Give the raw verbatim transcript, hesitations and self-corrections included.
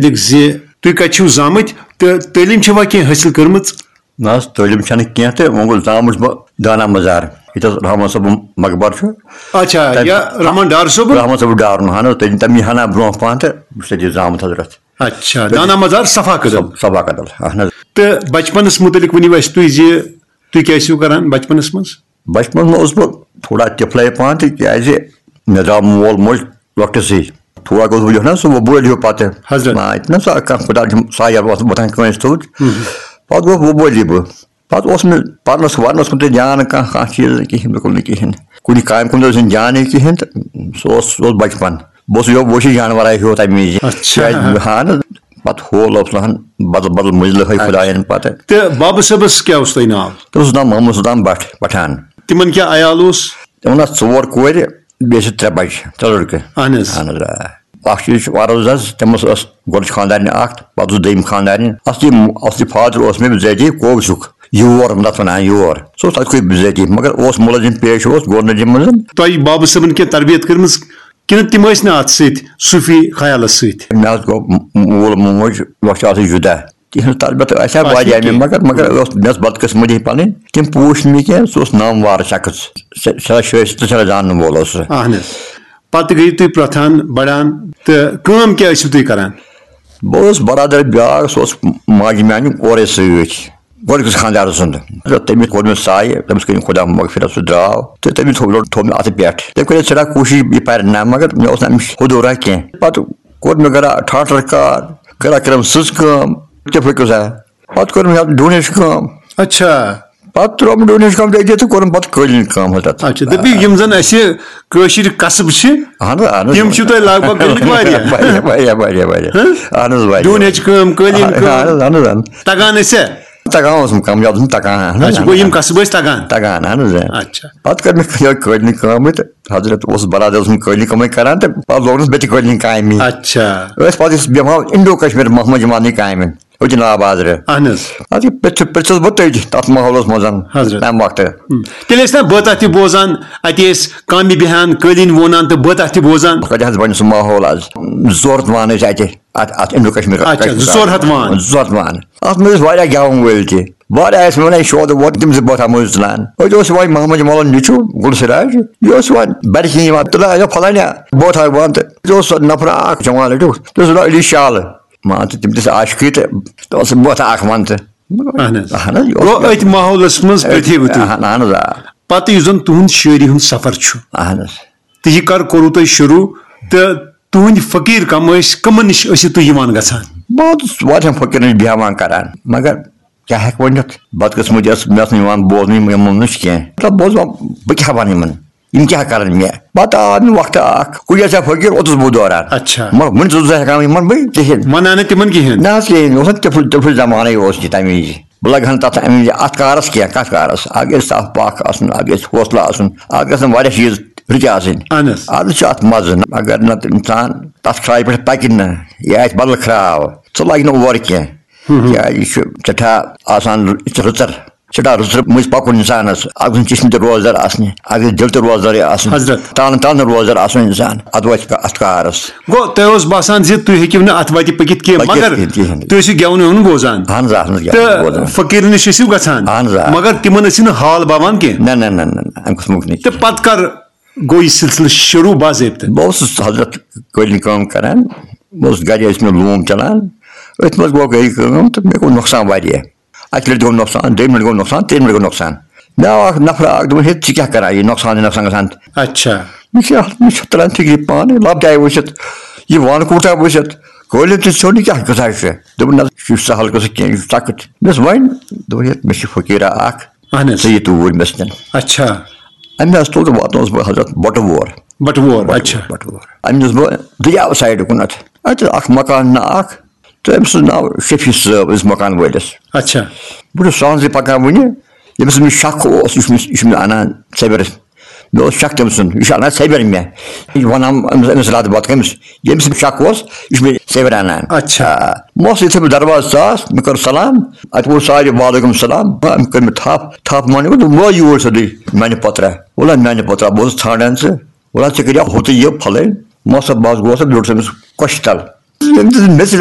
مُتعلِق زِ تُہۍ کَتہِ چھِو زامٕتۍ تہٕ تعلیٖم چھَوا کینٛہہ حٲصِل کٔرمٕژ؟ نہ حظ، تعلیٖم چھَنہٕ کینٛہہ تہٕ وۄنۍ گوٚو زامُت چھُس بہٕ دانا مزار، ییٚتہِ حظ رحمان صٲبُن مقبر چھُ۔ اچھا، تَتہِ یا رحمان ڈار صٲبُن؟ رحمان صٲبُن ڈارُن، اہن حظ، تٔمۍ، تٔمی ہنا برونٛہہ پہن تہٕ بہٕ چھُس تَتی زامُت حضرت۔ اچھا، دانا مزار صفا کدل۔ صف-، صفا کدل، اہن حظ۔ تہٕ بچپنس مُتعلِق ؤنِو اَسہِ تُہۍ زِ تُہۍ کیٛاہ ٲسِو کران بچپنس منٛز؟ بچپنس منٛز اوسُس بہٕ تھوڑا طفلے پہن تہِ، کیٛازِ مےٚ درٛاو مول موج لۄکٹِسٕے۔ تھوڑا گوٚوُس بہٕ یُتھ نا سُہ وۄبٲلۍ ہیوٗ پتہٕ۔ حضرت۔ نا، یہِ چھُنہ سُہ کانٛہہ خۄدا چھُم سایہِ اوس وۄتھان کٲنٛسہِ تھوٚد۔ مہم۔ پتہٕ گوٚو وۄبٲلی بہٕ۔ پتہٕ اوس مےٚ پرنس ورنس کُن تہِ دیان نہٕ کانٛہہ، کانٛہہ چیٖز نہٕ کِہیٖنۍ، بِلکُل نہٕ کِہیٖنۍ۔ کُنہِ کامہِ کُن تہِ اوس نہٕ دیانٕے کِہیٖنۍ تہٕ سُہ اوس، سُہ اوس بچپن۔ بہٕ اوسُس یِہوٚے وحشی جانورا ہیوٗ تَمہِ وِزِ۔ اچھا۔ کیٛازِ، اہن حظ، پتہٕ ہول اوس لہن بدل بدل مٔنٛزلہٕ ہٲے خۄدایَن پتہٕ۔ تہٕ بابہٕ صٲبس کیٛاہ اوس تۄہہِ ناو؟ تٔمِس اوس ناو محمد سلطان بٹ، پٹھان۔ تِمن کیٛاہ عیال اوس؟ تِمن آسہٕ ژور کورِ، بیٚیہِ ٲسۍ ترٛےٚ بچہِ، ترٛےٚ لڑکہٕ۔ اہن حظ۔ اہن حظ، آ۔ اکھ چیٖز چھُ عرض حظ، تٔمِس ٲس گۄڈٕچ خانٛدارنہِ اکھ، پتہٕ اوس دوٚیِم خانٛدارنہِ۔ اصلی، اصلی فادر اوس مےٚ بِذٲتی کوگزُک، یور، تتھ ونان یور۔ سُہ اوس تتہِ کوٚر بِذٲتی، مگر اوس مُلٲزِم پیش اوس گورنمنٹہِ منٛز۔ تۄہہِ بابہٕ صٲبن کینٛہہ تربیت کٔرمٕژ کِنہٕ تِم ٲسۍ نہٕ اتھ سۭتۍ صوٗفی خیالس سۭتۍ؟ مےٚ حظ گوٚو مول موج لۄکچارسٕے جُدا۔ تِہنٛز تربیت ٲسۍ ہا اَتھ واریاہ سۭتۍ مےٚ، کینٛہہ۔ مگر، مگر ٲس، مےٚ ٲس بدقٕسمتی پنٕنۍ، تِم پوٗچھ نہٕ مےٚ کینٛہہ، سُہ اوس ناموار شخص، سٮ۪-، سٮ۪ٹھاہ شٲ-، سٮ۪ٹھاہ زانن وول اوس سُہ۔ اہن حظ۔ پتہٕ گٔیِو تُہۍ پرٛتھان، بڑان، تہٕ کٲم کیٛاہ ٲسِو تُہۍ کران؟ بہٕ اوسُس برادر بیٛاکھ، سُہ اوس ماجہِ میٛانہِ اورَے سۭتۍ، گۄڈٕنِکِس خانٛدارٕ سُنٛد۔ تہٕ تٔمِس کوٚر مےٚ سایہِ، تٔمِس کٔرِن خۄدا مغفرت، سُہ درٛاو، تہٕ تٔمۍ تھوٚو، تھوٚو مےٚ اَتھٕ پٮ۪ٹھ۔ تٔمۍ کٔر سٮ۪ٹھاہ کوٗشِش یہِ پَرِ نہ، مگر مےٚ اوس نہٕ اَمِچ حدوٗرا کینٛہہ۔ پَتہٕ کوٚر مےٚ گرا ٹھاٹھر کار، گرا کٔرٕم سٕژ کٲم، تِتھَے پٲٹھۍ گوٚو سا۔ پَتہٕ کوٚر مےٚ اَتھ ڈوٗنۍ ہٕنٛز کٲم۔ اچھا۔ پَتہٕ ترٛووُم ڈوٗنۍ ہٕنٛز کٲم تہِ أتی تہٕ کوٚرُم پَتہٕ قٲلیٖن کٲم حضرت۔ اچھا، دٔپِو، یِم زَن اَسہِ کٲشِرۍ قصب چھِ، اہن حظ، اہن حظ۔ تِم چھِو تۄہہِ لگ بگ گٔمٕتۍ واریاہ۔ واریاہ، واریاہ، واریاہ، واریاہ۔ ہہ؟ اہن حظ، واریاہ۔ ڈوٗنۍ ہٕنٛز کٲم، قٲلیٖن اہن کٲم۔ حظ، اہن حظ، اہن حظ۔ تگان ٲسیا؟ تگان اوسُم کم زیادٕ اوسُم تگان، اہن حظ، اچھا، گوٚو یِم اہن حظ۔ قصب ٲسۍ تگان؟ تگان، اہن حظ، اہن۔ اچھا۔ پَتہٕ کٔر مےٚ یِہوٚے قٲلیٖن کٲمٕے تہٕ حضرت اوس برادر اوسُم قٲلیٖن کٲمٕے کران تہٕ پَتہٕ لوگنَس بہٕ تہِ قٲلیٖن کامہِ۔ اچھا۔ أسۍ پَتہٕ ٲسۍ بیٚہوان اِنڈو کشمیر محمد جمالنٕے کامہِ۔ أتھۍ ناو بازرٕ۔ اہن حظ۔ اَدٕ یہِ پرٛژھ-، پرٛژھُس بہٕ تٔتۍ تَتھ ماحولَس منٛز حضرت۔ تَمہِ وقتہٕ۔ ہم۔ تیٚلہِ ٲسۍ نا بٲتاہ تہِ بوزان، اَتہِ ٲسۍ کامہِ بیٚہان، قٲلیٖن وونان تہٕ بٲتاہ تہِ بوزان۔ کَتہِ حظ بَنہِ سُہ ماحول آز؟ زورت وان ٲسۍ اَتہِ، اَتھ، اَتھ اِنڈو کشمیر، اچھا، کشمیر زٕ ژور ہَتھ وان۔ زٕ ژور ہَتھ وان۔ اَتھ منٛز ٲسۍ واریاہ گٮ۪وَن وٲلۍ تہِ۔ واریاہ ٲسۍ مےٚ وَنان، یہِ شوق ووت تِم زٕ بٲتھ اَتھ منٛز تُلان۔ أتۍ اوس یِوان محمد جمالُن نیٚچوٗ گُل سراج، یہِ اوس یِوان بَرِ کِنۍ یِوان، تُلان، یہِ پھلانیا بٲتھ ہا وَن تہٕ یہِ اوس سُہ نفرا اَکھ جوان لٔڑکہٕ، تٔمِس اوس ناو علی شالہٕ۔ مان ژٕ، تِم تہِ ٲسۍ عاشقٕے تہٕ تِم ٲسۍ بٲتھا اکھ ونان تہٕ۔ اہن حظ۔ اہن حظ، یہِ اوس گوٚو أتھۍ ماحولس منٛز أتھۍ، پٔتھیوٕ تُہۍ۔ اہن، اہن حظ، آ۔ پتہٕ یُس زن تُہُنٛد شٲعری ہُنٛد سفر چھُ، اہن حظ۔ تہٕ یہِ کر کوٚروٕ تۄہہِ شروٗع؟ تہٕ تُہنٛدۍ فقیٖر کم ٲسۍ، کمن نِش ٲسِو تُہۍ یِوان گژھان؟ بہٕ اوسُس واریاہن فقیٖرن نِش بیٚہوان کران، مگر کیٛاہ ہٮ۪کہٕ ؤنِتھ؟ بدقٕسمتی ٲس، مےٚ ٲس نہٕ یِوان بوزنٕے یِمن نِش کینٛہہ۔ مطلب، بوزان، بہٕ کیٛاہ وَنہٕ یِمن؟ یِم کیٛاہ کَرَن مےٚ؟ پَتہٕ آو مےٚ وقتہٕ اَکھ، کُلۍ ٲسۍ فقیٖر، اوٚتُس بہٕ دوران۔ اچھا۔ مگر وٕنہِ چھُس بہٕ ہٮ۪کان یِمَن بہٕ کِہیٖنۍ۔ وَنان نہٕ تِمَن کِہیٖنۍ۔ نہ حظ، کِہیٖنۍ، اوس نہٕ تِفُل، تِفُل زمانَے اوس یہِ تَمہِ وِزِ۔ بہٕ لَگہٕ ہَن تَتھ اَمہِ وِزِ اَتھ کارَس کینٛہہ، کَتھ کارَس؟ اَکھ گژھِ صاف پاک آسُن، اَکھ گژھِ حوصلہٕ آسُن، اَکھ گژھن واریاہ چیٖز رٕتۍ آسٕنۍ۔ اَہن حظ۔ اَز چھُ اَتھ مَزٕ، اگر نہٕ اِنسان تَتھ کھرٛایہِ پٮ۪ٹھ پَکہِ نہٕ، یہِ آسہِ بدل کھرٛاو، ژٕ لَگہِ نہٕ اورٕ کینٛہہ۔ ہم۔ کیٛازِ یہِ چھُ سٮ۪ٹھاہ آسان رٕژ-، رٕژَر، سٮ۪ٹھاہ رٕژَر مٔنٛزۍ پَکُن اِنسانَس۔ اَکھ گژھِ چشمہٕ تہِ روزدار آسنہِ، اَکھ گژھِ دِل تہِ روزدارٕے آسُن۔ حضرت۔ تانہٕ تانہٕ روزدار آسُن اِنسان، اَدٕ واتہِ کا-، اَتھ کارَس۔ گوٚو، تۄہہِ اوس باسان زِ تُہۍ ہیٚکِو نہٕ اَتھ وَتہِ پٔکِتھ کینٛہہ، پٔکِتھ مگر کینٛہہ، کِہیٖنۍ۔ تُہۍ ٲسِو گٮ۪وُن وٮ۪وُن بوزان۔ اَہَن حظ، اَہَن حظ، گٮ۪وُن تہٕ بوزان۔ فقیٖرن نِش ٲسِو گژھان۔ اَہَن حظ، آ۔ مگر تِمَن ٲسِو نہٕ حال باوان کینٛہہ۔ نہ، نہ، نہ، نہ، نہ، اَمہِ قٕسمُک نہٕ۔ تہٕ پَتہٕ کر گوٚو یہِ سلسلہٕ شروٗع باضٲبطہٕ؟ بہٕ اوسُس حضرت قٲلیٖن کٲم کران، بہٕ اوسُس گرِ، ٲسۍ مےٚ لوٗم چلان، أتھۍ منٛز گوٚو گرِ کٲم تہٕ مےٚ گوٚو نۄقصان واریاہ۔ اَکہِ لَٹہِ گوٚو نۄقصان، دوٚیِمہِ لَٹہِ گوٚو نۄقصان، ترٛیٚیِمہِ لَٹہِ گوٚو نۄقصان۔ مےٚ آو اکھ نفرا اکھ، دوٚپُن، "ہے، ژٕ کیٛاہ کران یہِ نۄقصان، یہِ نۄقصان گژھان؟" اچھا۔ مےٚ چھِ، مےٚ چھِ تران فِکرِ پانہٕ، لۄپٹہِ آیہِ وٕچھِتھ، یہِ وَن کوٗتاہ وٕچھِتھ، قٲلیٖن تہِ ژھیوٚن، یہِ کیٛاہ قٕصہ چھُ؟ دوٚپُن، "نہ، یہِ چھُ سہل قٕصہٕ کینٛہہ، یہِ چھُ سخت۔" مےٚ دوٚپُس، "وۄنۍ؟" دوٚپُن، "ہے، مےٚ چھِ فقیٖرا اکھ۔" اہن حظ۔ ژٕ یہِ توٗرۍ مےٚ سۭتۍ۔ اچھا۔ أمۍ حظ تُل تہٕ واتنووُس بہٕ حضرت بٹہٕ وور۔ بٹہٕ وور، بٹہٕ اچھا۔ وور، بٹہٕ وور۔ أمۍ نیوٗس بہٕ دٔریاو سایڈٕ کُنتھ۔ اَتہِ ٲس اکھ مکان نہ اکھ، تہٕ أمۍ سُنٛد ناو شفیع صٲب، أمِس مکان وٲلِس۔ اچھا۔ بہٕ چھُس سہلٕے پکان وُنہِ، ییٚمِس مےٚ شک اوس، یہِ چھُ مےٚ، یہِ چھُ مےٚ اَنان ژےٚ بٮ۪رَس۔ مےٚ اوس شک تٔمۍ سُنٛد، یہِ چھُ اَنان ژےٚ بٮ۪ر مےٚ۔ یہِ وَنان أمِس، أمِس راتہٕ بتہٕ کٔمِس، ییٚمِس مےٚ شک اوس، یہِ چھُ مےٚ ژےٚ بٮ۪ر اَنان۔ اچھا۔ آ، بہٕ اوسُس یِتھُے بہٕ دروازٕ ژاس، مےٚ کٔر سلام، اَتہِ ووٚن سارے، "وعلیکم السلام۔" أمۍ کٔر مےٚ تھپھ، تھپھ مانہِ، دوٚپُن، "وٲے یور سیوٚدُے میانہِ پۄترا۔ وَلہٕ میانہِ پۄترا، بہٕ اوسُس ژھانڈان ژٕ۔ وَلہٕ ژےٚ کَریٛاو ہُہ تہٕ یہِ پھلٲنۍ۔" ماسا بہٕ حظ گوس تہٕ بیوٗٹھُس أمِس کۄچھِ تَل۔ ییٚمہِ دِژ مےٚ ژٕ